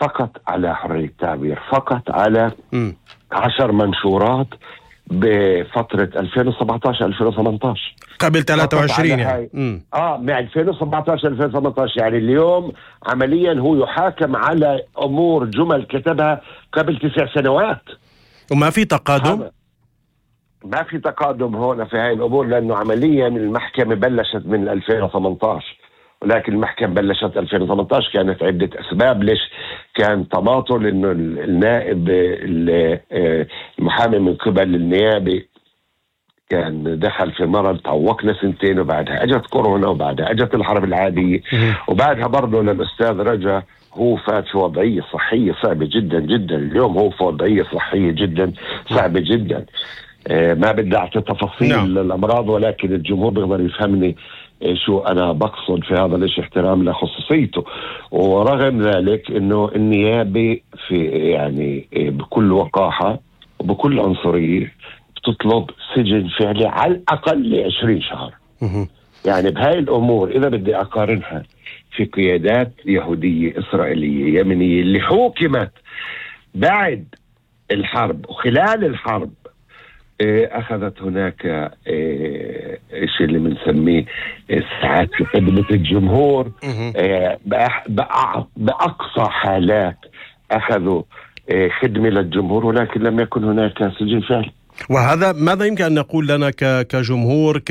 فقط على حرية التعبير، فقط على 10 منشورات بفترة 2017-2018 قبل 23 يعني. من 2017-2018 يعني اليوم عمليا هو يحاكم على أمور جمل كتبها قبل 9 سنوات. وما في تقادم؟ ما في تقادم هون في هاي الأمور، لأنه عمليا المحكمة بلشت من 2018، ولكن المحكمة بلشت 2018 كانت عدة أسباب ليش كان تماطل، إنه النائب المحامي من قبل النيابة كان دخل في مرض، تعوقنا سنتين، وبعدها اجت كورونا، وبعدها اجت الحرب العادية، وبعدها برضه للأستاذ رجا هو فات في وضعية صحية صعبة جدا جدا. اليوم هو في وضعية صحية جدا صعبة جدا. ما بدي أعطي تفاصيل الأمراض، ولكن الجمهور بيقدر يفهمني شو أنا بقصد في هذا الإشي، احترام لخصوصيته. ورغم ذلك إنه النيابة في يعني بكل وقاحة وبكل عنصرية بتطلب سجن فعلي على الأقل 20 شهر. يعني بهاي الأمور إذا بدي أقارنها في قيادات يهودية إسرائيلية يمنية اللي حكمت بعد الحرب وخلال الحرب، أخذت هناك شيء اللي بنسميه ساعات في خدمة الجمهور، بأقصى حالات أخذوا خدمة للجمهور، ولكن لم يكن هناك سجن فعلي. وهذا ماذا يمكن أن نقول لنا كجمهور،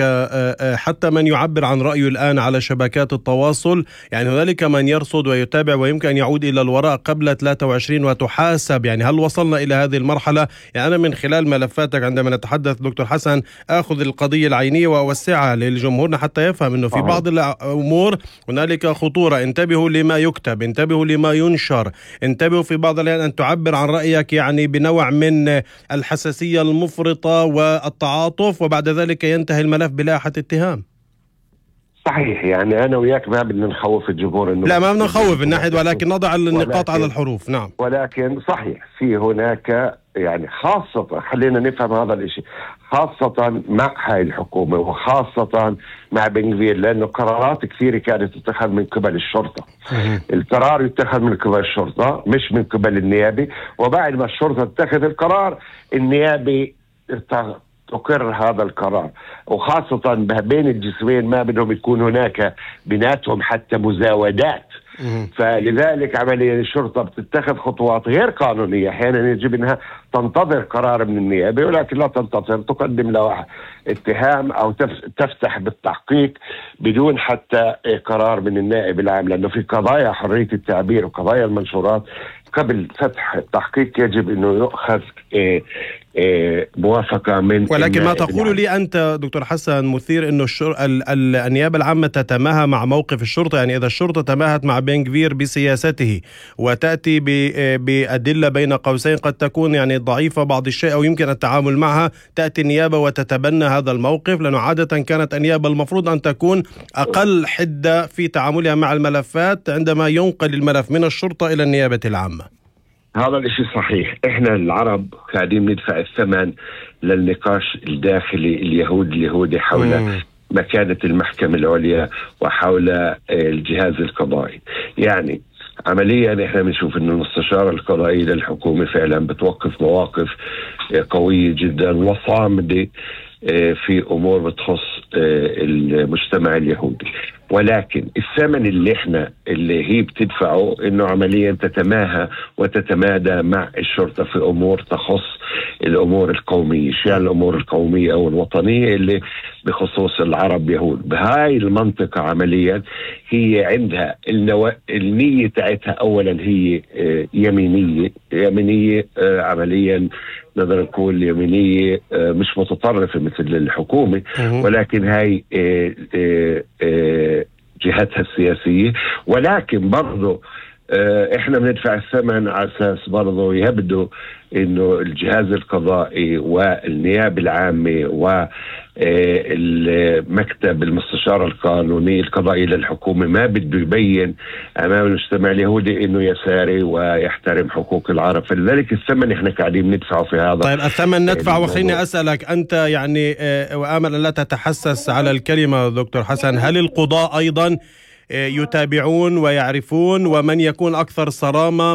حتى من يعبر عن رأيه الآن على شبكات التواصل؟ يعني هنالك من يرصد ويتابع ويمكن أن يعود إلى الوراء قبل 23 وتحاسب. يعني هل وصلنا إلى هذه المرحلة؟ يعني أنا من خلال ملفاتك عندما نتحدث دكتور حسن أخذ القضية العينية وأوسعها للجمهور حتى يفهم أنه في بعض الأمور هنالك خطورة. انتبهوا لما يكتب، انتبهوا لما ينشر، انتبهوا في بعض الأحيان أن تعبر عن رأيك يعني بنوع من الحساسية المفرطة والتعاطف، وبعد ذلك ينتهي الملف بلاحة اتهام. صحيح. يعني أنا وياك ما بدنا نخوف الجمهور، إنه لا ما بدنا نخوف من ناحية، ولكن نضع النقاط على الحروف. نعم. ولكن صحيح في هناك يعني خاصة، خلينا نفهم هذا الاشي، خاصة مع هاي الحكومة وخاصة مع بن غفير، لأنه قرارات كثيرة كانت تتخذ من قبل الشرطة. القرار يتخذ من قبل الشرطة مش من قبل النيابة، وبعد ما الشرطة تتخذ القرار النيابة تقر هذا القرار. وخاصة بين الجسمين ما بدهم يكون هناك بيناتهم حتى مزاودات. فلذلك عمليا الشرطة بتتخذ خطوات غير قانونية. أحيانا يجب أنها تنتظر قرار من النيابة، ولكن لا تنتظر، تقدم له اتهام أو تفتح بالتحقيق بدون حتى قرار من النائب العام، لأنه في قضايا حرية التعبير وقضايا المنشورات قبل فتح التحقيق يجب أنه يؤخذ موافقة من. ولكن ما تقول لي أنت دكتور حسن مثير أنه النيابة العامة تتماهى مع موقف الشرطة. يعني إذا الشرطة تماهت مع بن غفير بسياسته وتأتي بأدلة بين قوسين قد تكون يعني ضعيفة بعض الشيء أو يمكن التعامل معها، تأتي النيابة وتتبنى هذا الموقف، لأنه عادة كانت النيابة المفروض أن تكون أقل حدة في تعاملها مع الملفات عندما ينقل الملف من الشرطة إلى النيابة العامة. هذا الاشي صحيح. احنا العرب قاعدين ندفع الثمن للنقاش الداخلي اليهودي حول مكانة المحكمة العليا وحول الجهاز القضائي. يعني عمليا احنا بنشوف انه المستشارة القضائية للحكومة فعلا بتوقف مواقف قوية جدا وصامدة في امور بتخص المجتمع اليهودي، ولكن الثمن اللي هي بتدفعه انه عمليا تتماهى وتتمادى مع الشرطة في امور تخص الامور القومية، يعني الامور القومية او الوطنية اللي بخصوص العرب يهود. بهاي المنطقة عمليا هي عندها النية تاعتها اولا هي يمينية عمليا نقدر نقول يمينية مش متطرفة مثل الحكومة، ولكن هاي جهتها السياسية. ولكن برضو احنا بندفع الثمن على اساس برضو يبدو انه الجهاز القضائي والنيابة العامة والمكتب المستشار القانوني القضائي للحكومة ما بده يبين امام المجتمع اليهودي انه يساري ويحترم حقوق العرب، فلذلك الثمن احنا قاعدين ندفعه في هذا. طيب الثمن ندفع، وخليني اسالك انت يعني وامل ان لا تتحسس على الكلمة دكتور حسن، هل القضاء ايضا يتابعون ويعرفون ومن يكون اكثر صرامة